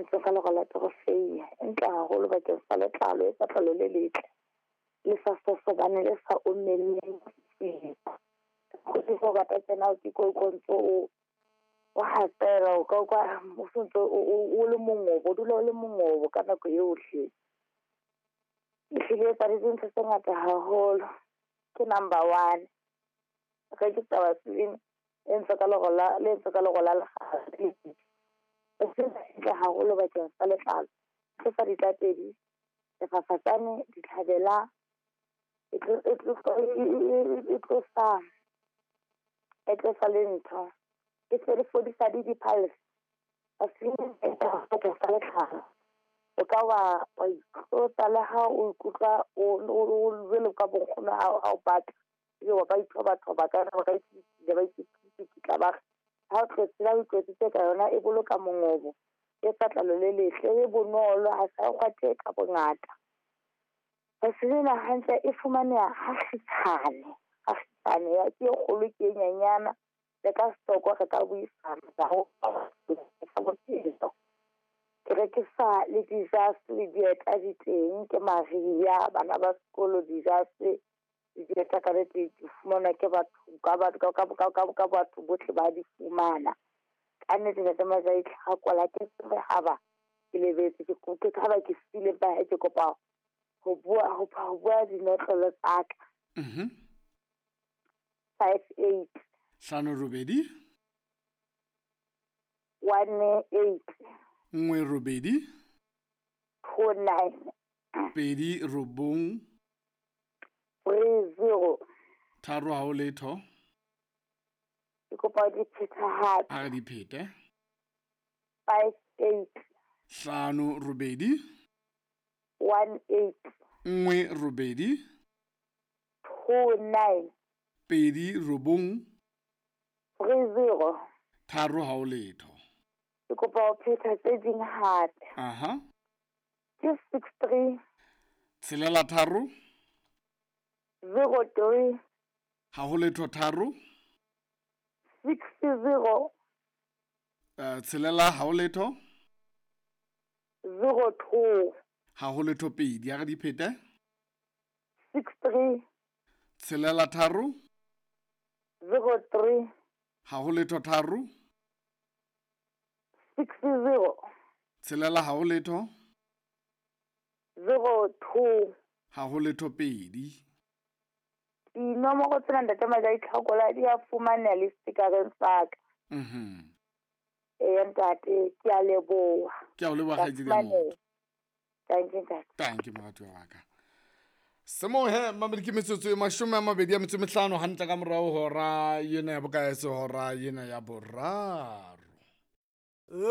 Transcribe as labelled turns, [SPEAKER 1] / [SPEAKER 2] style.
[SPEAKER 1] entsweng ka lero la torofeiya e ntle haholo bakeng sa letlalo, e etsa letlalo le letle, le sa sosobane, le sa omelleng. O rata tsena ke ko ntso o hatsela, o ka utlwa o sontso o le mongobo, o dula o le mongobo ka nako yohle. Ehlile e etsa le dintho tse ngata haholo. Ke number one. Rekisa Vaseline e entswe ka lero la, le entswe ka lero la lekgala. Ntle haholo bakeng sa letlalo. Tlosa ditlatedi, sefafatsane, ditlhabela, e tlosa le ntho. E se le fodisa le di-piles. Vaseline e bakeng sa letlalo. O ka wa itlotsa le ha o ikutlwa o jwalo ka bo nkgono ha o bata. Ebe wa ba ithobathoba ka ba ka ba ba ha o tlotse ha o itlotsitse ka yona e boloka mongobo, e etsa tlalo le letle, e bonolo, ha sa kgwathe ka bongata. Vaseline hantle e fumaneha ha kgutshwane, ha kgutshwane ya ke e kgolo ke e nyenyana. Le ka stoko re ka buisana bophelo. Ke rekisa le dijase le dieta di teng, ke mariha bana ba sekolo dijase le dieta ka nnete di fumanwa ke batho ka ka batho bohle ba di fumana. Ka nnete Ntate Majai Tlhakola ke tsebe haba ke lebetse ke haba ke siile ba ke kopa ho bua dinotlolo tsa ka. 58
[SPEAKER 2] 5 8
[SPEAKER 1] 1 8
[SPEAKER 2] 1 8
[SPEAKER 1] 2 9
[SPEAKER 2] 2 9
[SPEAKER 1] 3 0
[SPEAKER 2] 3 ha o letho.
[SPEAKER 1] Ke kopa di pheta hape.
[SPEAKER 2] A re di phete.
[SPEAKER 1] 5 8
[SPEAKER 2] 5 8
[SPEAKER 1] 1 8
[SPEAKER 2] 1 8
[SPEAKER 1] 2 9
[SPEAKER 2] 2 9
[SPEAKER 1] 3 0
[SPEAKER 2] 3 ha o letho.
[SPEAKER 1] Ke kopa ho phetha tse ding hape.
[SPEAKER 2] Aha.
[SPEAKER 1] Ke 6 3
[SPEAKER 2] 6 3
[SPEAKER 1] 0 3
[SPEAKER 2] ha ho letho 3
[SPEAKER 1] 6 0
[SPEAKER 2] 6 ha ho letho
[SPEAKER 1] 0 2
[SPEAKER 2] ha ho letho 2. Ya re di phete.
[SPEAKER 1] 6 3
[SPEAKER 2] 6 3
[SPEAKER 1] 0 3
[SPEAKER 2] ha ho letho 3
[SPEAKER 1] 6 0
[SPEAKER 2] 6 ha ho letho
[SPEAKER 1] 0 2
[SPEAKER 2] ha ho letho 2.
[SPEAKER 1] Dinomoro tsena Ntate Majai Tlhakola di a fumaneha le stikareng sa ka. Eya ntate, ke a leboha.
[SPEAKER 2] Ke a o leboha kgaitsedi ya motho.
[SPEAKER 1] Thank you ntate.
[SPEAKER 2] Thank you moratuwa wa ka. Semohe mamedi ke metsotso e 25 hantle ka morao hora ena ya bokae, hora ena ya boraro.